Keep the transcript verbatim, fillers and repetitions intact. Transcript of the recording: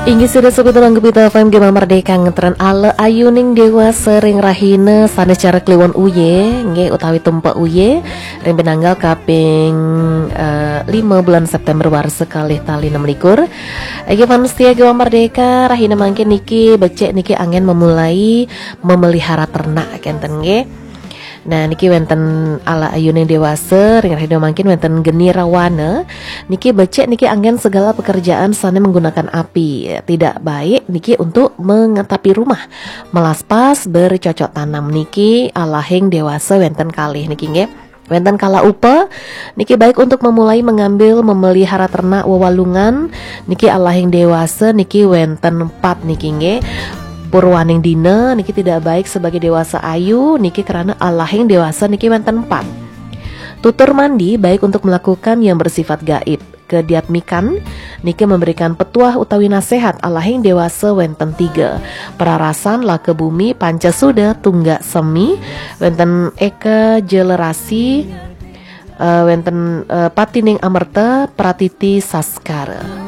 Inggih sida sugih, Gema Merdeka ngetren ala ayuning dewasa ring rahina sane cara kliwon uye, nggih, utawi tumpek uye, ring pinanggal kaping, eh, lima bulan September warsa kalih tali enam likur. Inggih, fans setia Gema Merdeka, rahina mangkin niki becik niki anggen memulai memelihara ternak kenten, nggih. Nah, niki wenten ala ayuning dewasa, ring rahina mangkin wenten geni rawana. Niki becik niki anggen segala pekerjaan sane menggunakan api. Tidak baik niki untuk mengatapi rumah. Melaspas, bercocok tanam niki alahing dewasa wenten kalih niki, nggih. Wenten kala upa, niki baik untuk memulai mengambil memelihara ternak wewalungan, niki alahing dewasa niki wenten empat niki, nggih. Purwaning dina niki tidak baik sebagai dewasa ayu, niki karena alahing dewasa niki wenten empat. Tutur mandi baik untuk melakukan yang bersifat gaib. Kediatmikan niki memberikan petuah utawi nasihat alahing dewasa wenten tiga. Perarasan, laka bumi, panca suda, tunggak semi, wenten eka jelerasi, eh, wenten, eh, patining amerta, pratiti saskara.